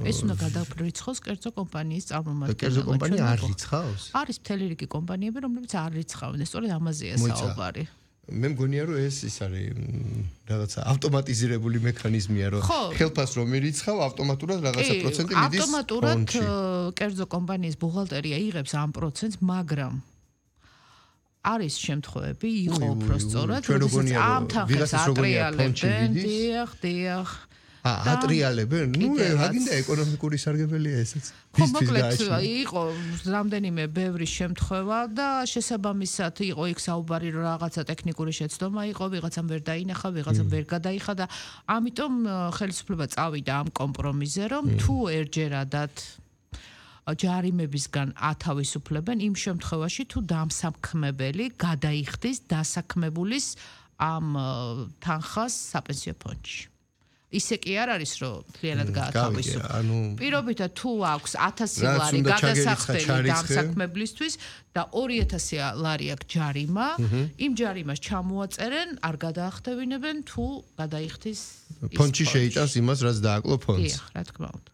ეს უნდა გადავრიცხოს კერძო კომპანიის წარმომადგენლებს. კერძო კომპანია არ რიცხავს? არის მთელი რიგი კომპანიები, რომლებიც არ რიცხავენ. სწორედ ამაზეა საუბარი. მე მგონია რომ ეს არის რაღაცა ავტომატიზირებული მექანიზმია რომ ხელფას რომ ირიცხავ ავტომატურად რაღაცა პროცენტი მიდის ავტომატურად კერძო კომპანიის ბუღალტერია იღებს ამ პროცენტს, მაგრამ არის შემთხვევები, იყო უფრო სწორად, როდესაც ამ თანხებს ატრიალებენ, დიახ. ატრიალებენ? ნუ აგინდა ეკონომიკური სარგებელია ესაც. ხო, მოკლედ იყო რამდენიმე ბევრი შემთხვევა და შესაბამისად იყო იქ საუბარი რომ რაღაცა ტექნიკური შეცდომა იყო, ვიღაცამ ვერ დაინახა, ვიღაცამ ვერ გადაიხადა. ამიტომ ხელისუფლება წავიდა ამ კომპრომისზე, რომ თუ ერთჯერადად ჯარიმებისგან ათავისუფლებენ იმ შემთხვევაში თუ დამსაქმებელი გადაიხდის დასაქმებულის ამ თანხას საპენსიო ფონდში. ისე კი არ არის რომ მთლიანად გაათავისუფლოს. პირობითად თუ აქვს 1000 ლარი გადასახდელი დამსაქმებლისთვის და 2000 ლარი აქვს ჯარიმა, იმ ჯარიმას ჩამოაწერენ, არ გადაახდევინებენ თუ გადაიხდის ფონდში შეიტანს იმას, რაც დააკლო ფონდს. დიახ, რა თქმა უნდა.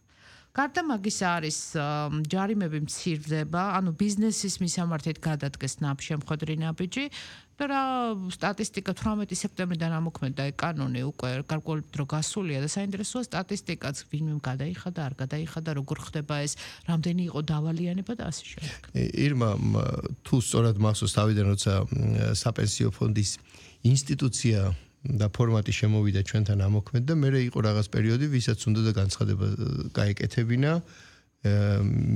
გარდა მაგისა არის ჯარიმები მცირდება, ანუ ბიზნესის მისამართით გადადგეს ნაბშემხვედრი ნაბიჯი და რა სტატისტიკა 18 სექტემბრიდან ამოქმედა კანონი უკვე გარკვეული დრო გასულია და საინტერესოა სტატისტიკაც ვინმე გადაიხადა, არ გადაიხადა, როგორ ხდება ეს, რამდენი იყო დავალიანება და ასე შემდეგ. ირმა თუ სწორად მახსოვს თავიდან როცა საპენსიო ფონდის ინსტიტუცია და ფორმატი შემოვიდა ჩვენთან ამოქმედა, მერე იყო რაღაც პერიოდი, ვისაც უნდა და განცხადება გაეკეთებინა,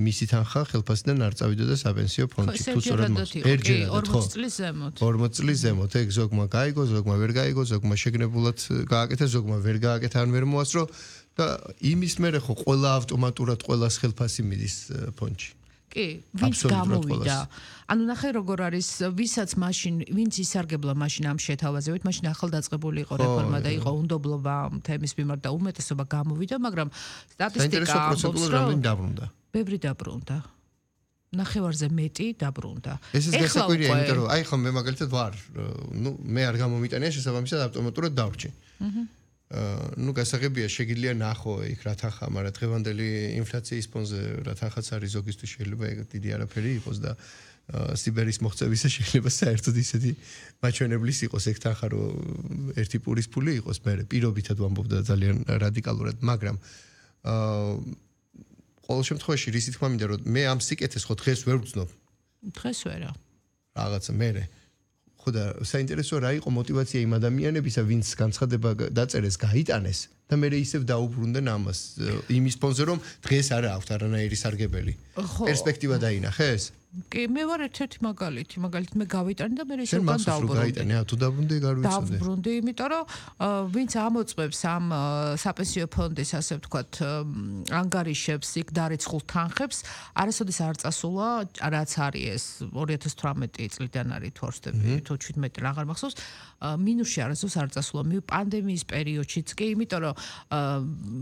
მისი თანხა ხელფასიდან არ წავიდოდა საპენსიო ფონდში. თუ სწორად ერთჯერადად 40 წლის ზემოთ. 40 წლის ზემოთ, ეგ ზოგმა გაიგო, ზოგმა ვერ გაიგო, ზოგმა შეგნებულად გააკეთა, ზოგმა ვერ გააკეთა, ან ვერ მოასწრო და იმის მერე ხო ყველა ავტომატურად ყველას ხელფასი მიდის ფონდში. კი, ვინც გამოვიდა. ანუ ნახე როგორ არის, ვისაც მაშინ, ვინც ისარგებლა მაშინ ამ შეთავაზებით, მაშინ ახალდაწყებული იყო რეფორმა და იყო უნდობლობა თემის მიმართ და უმეტესობა გამოვიდა, მაგრამ სტატისტიკა ამბობს, რომ დაბრუნდა. ბევრი დაბრუნდა. ნახევარზე მეტი დაბრუნდა. ეს გასაკვირია, იმიტომ რომ აი ხო მე მაგალითად ვარ, ნუ მე არ გამომიტანია შესაბამისად ავტომატურად დავრჩი. ნუ გასაღებია შეგიძლია ნახო იქ რა თანხა, მაგრამ დღევანდელი ინფლაციის ფონზე რა თანხაც არის ზოგისთვის შეიძლება ეგ დიდი არაფერი იყოს და სიბერის მოღწევისა შეიძლება საერთოდ ისეთი მაჩვენებლის იყოს ეგ თანხა რომ ერთი პურის ფული იყოს, მე პირობითად ვამბობ და ძალიან რადიკალურად, მაგრამ ყოველ შემთხვევაში რის თქმა მინდა რომ მე ამ სიკეთეს ხო დღეს ვერ ვცნობ. დღეს ვერა. რაღაცა მე ხოდა საინტერესოა რა იყო мотиваცია იმ ადამიანებისა, ვინც განცხადება დაწერეს, გაიტანეს და მე ისევ დაუბრუნდნენ ამას იმის ფონზე, რომ დღეს არ აქვს არანაირი სარგებელი. პერსპექტივა დაინახეს? კი, მე ვარ ერთ-ერთი მაგალითი, მაგალითად მე გავიტანე და მე ისევ დავბრუნდი. გაიტანე, თუ დაბრუნდი, არ ვიცოდი. დავბრუნდი, იმიტომ რომ ვინც ამოწმებს ამ საპენსიო ფონდის, ასე ვთქვათ, ანგარიშებს, იქ დარიცხულ თანხებს, არასოდეს არ წასულა, რაც არის ეს 2018 წლიდან არის თუ არ ვცდები, თუ 17 აღარ მახსოვს, მინუსში არასოდეს არ წასულა. პანდემიის პერიოდშიც კი, იმიტომ რომ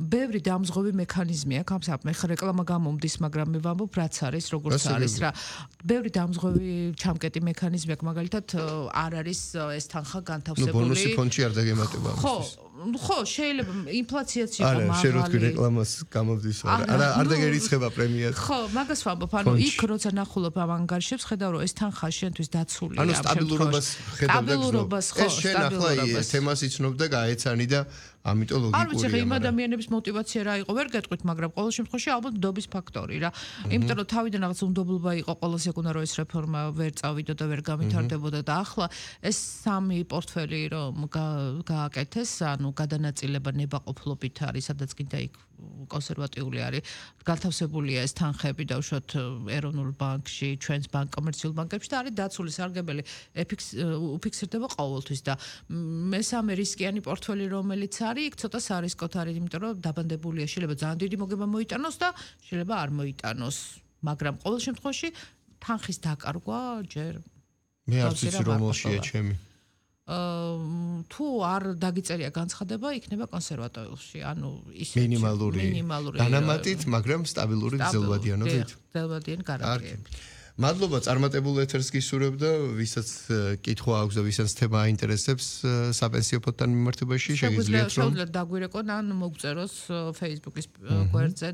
ბევრი დამზღვევი მექანიზმი აქვს ამ საქმე. ხა რეკლამა გამომდის, მაგრამ მე ვამბობ, რაც არის, როგორც არის რა. ბევრი დამზღვევი ჩამკეტი მექანიზმი აქვს, მაგალითად არ არის ეს თანხა განთავსებული. ბონუსი ფონდში არ დაგემატება ამისთვის. ხო, შეიძლება ინფლაციაც იყო მაღალი. არა, შენ რო თქვი რეკლამას გამომდის, არ დაგერიცხება პრემიად. ხო, მაგას ვამბობ, ანუ იქ როცა ნახულობ ამ ანგარიშებს, ხედავ რომ ეს თანხა შენთვის დაცულია. ანუ სტაბილურობას ხედავ და ხო, შენ ახლა თემას იცნობ და გაეცანი და ამიტომ ლოგიკურია. არ ვიცი, იმ ადამიანების мотиваცია რა იყო, ვერ გეტყვით, მაგრამ ყოველ შემთხვევაში ალბათ ნდობის ფაქტორი რა. იმიტომ რომ თავიდან რაღაც უნდობლობა იყო, ყოველს ეკუნა რომ ეს რეფორმა ვერ წავიდა და ვერ გამithარდებოდა და ახლა ეს სამი პორტფელი რომ გააკეთეს, ანუ გადანაწილება ნებაყოფლობით არის, სადაც კიდე იქ კონსერვატიული არის, განთავსებულია ეს თანხები და უშუალოდ ეროვნულ ბანკში, ჩვენს კომერციულ ბანკებში და არის დაცული სარგებელი, უფიქსირდება ყოველთვის და მესამე რისკიანი პორტფელი რომელიც არის, იქ ცოტა სარისკოთ არის, იმიტომ რომ დაბანდებულია, შეიძლება ძალიან დიდი მოგება მოიტანოს და შეიძლება არ მოიტანოს, მაგრამ ყოველ შემთხვევაში თანხის დაკარგვა ჯერ მე არც ვიცი რომელშია ჩემი. თუ არ დაგიწერია განცხადება, იქნება კონსერვატორიაში, ანუ ისე მინიმალური დანამატით, მაგრამ სტაბილური გრძელვადიანობით. გრძელვადიან გარანტიებით. მადლობა, წარმატებულ ეთერს გისურვებ და ვისაც კითხვა აქვს და ვისაც თემა აინტერესებს საპენსიო ფონდთან მიმართებაში, შეგიძლიათ რომ შეგვიძლია დაგვირეკონ ან მოგწეროს Facebook-ის გვერდზე.